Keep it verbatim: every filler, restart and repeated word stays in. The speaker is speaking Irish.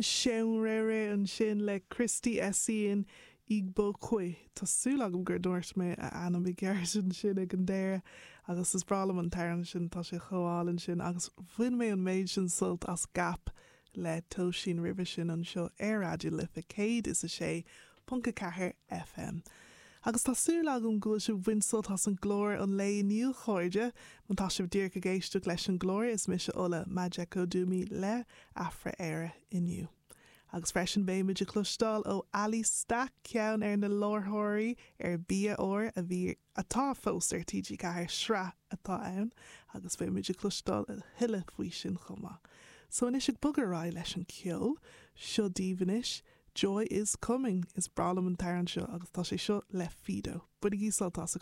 Seun ansin le Christy Essien Igbokwe Tá súil agam gur dúirt mé a ainm i gceart ansin ag an deireadh agus is breá liom an t-amhrán sin tá sé chomh hálainn sin agus bhain mé an méid sin sult as Gap le Tóisín roimhe sin anseo ar Raidió Life céad is a sé ponc a ceathair FM. Agus tá súil agam go bhfuil sibh ag baint sult as an gclár an lae inniu a chairde, má tá sibh díreach ag éisteacht leis an gclár is mise Ola Majekodunmi le Afra-Éire inniu. Agus freisin beimid ag cloisteáil ó Ali Stack ceann ar na láithreoirí ar Bia Ór a bhí atá fós ar TG Ceathair sraith atá ann agus beimid ag cloisteáil a thuilleadh faoi sin chomh maith. So anois ag bogadh ar aghaidh leis an ceol, seo daoibh anois, Joy is coming is breá liom an t-amhrán seo agus tá sé seo le Fido. Bainigí sult as a